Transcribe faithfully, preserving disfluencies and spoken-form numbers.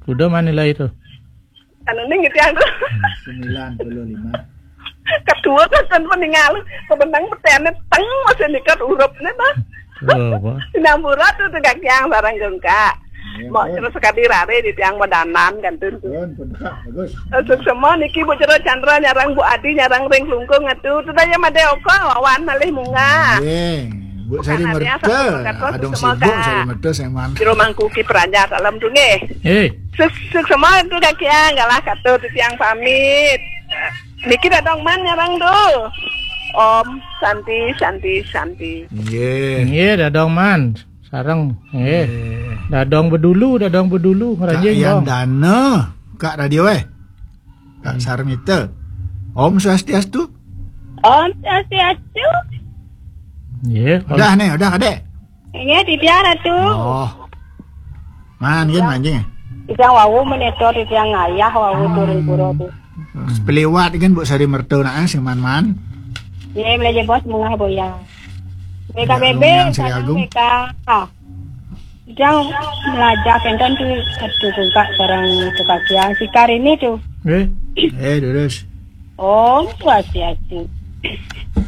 Kuda mana lah itu? Anu ning gitu yang tuh. Sembilan puluh lima. Kedua kan kan peninggal. Kebenang petene teng masih nikat urupnya dah. Oh, apa? Sinampura tuh tuh kaki yang barang gengka. Iya, mau terus sekali rare di tiang madanan kan tuh. Pun, pun, Kak, bagus. Untuk semua niki Bu Jero Chandra nyarang Bu Adi nyarang ring lungkung atuh. Tuh tanya made oko wawan malih munggah. Iya. Bu Sari Merta, adong sibuk Sari Merta seman. Jero Mangkuki Praja salam tuh nggih. Eh. Suk suk semua itu kaki yang galah katu tuh tiang pamit. Niki dadong man nyarang tuh. Om Santi Santi Santi. Nggih. Nggih, dadong man. Sareng. Nggih. Nggih. Dadong bedulu, dadong bedulu Kak ngeranjing Yan dong. Dana, Kak Radio eh. Kak Sarmita. Om Swastiastu. Om Swastiastu. Nggih. Udah nih, udah Kadek. Nggih, titiang Ratu. Oh. Man, gin manjing. Titiang wau meneto titiang ayah wau turun pura tu. Peliwat kan Bu Sari Merta nak eh, sing man-man. Nggih, belajar bos mengah boya. B K B B, Yang Sri sarang Agung. B K. Ah. Titiang belajar kenten tu satu kungkak sarang tu kakia. Sikar ini tu. Eh. Eh, terus. Om Swastiastu.